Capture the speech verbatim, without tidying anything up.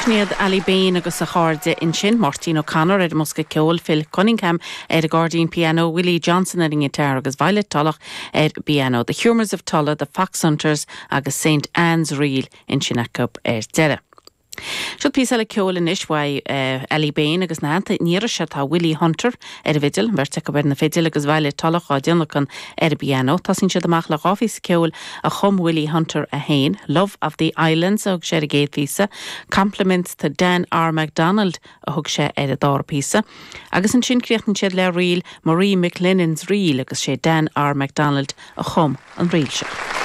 Sin iad Ali Bain agus a chairde ansin Máirtín O'Connor ar an mbosca ceoil Phil Cunningham ar an gcairdín piano Willie Johnson ar an ngiotár agus Violet Tulloch ar piano. The Humours of Tulla, the Foxhunters agus St Anne's Reel ansin acu ar deireadh. Seo píosa eile ceoil anois uaidh uh, Ali Bain agus ina theannta tá Willie Hunter ar an bhfidil, beirt acu ar na fidil agus Violet Tulloch á dtionlacan ar an bpianó. Tosaíonn siad amach le dhá phíosa ceoil a chum Willie Hunter a haon, Love of the Islands a thug sé ar an gcéad phíosa, Compliments to Dan R. MacDonald a thug sé ar an dara píosa. Agus ansin críochnaíonn siad le ríl Marie McLennan's Reel agus sé Dan R. MacDonald a chum an ríl seo.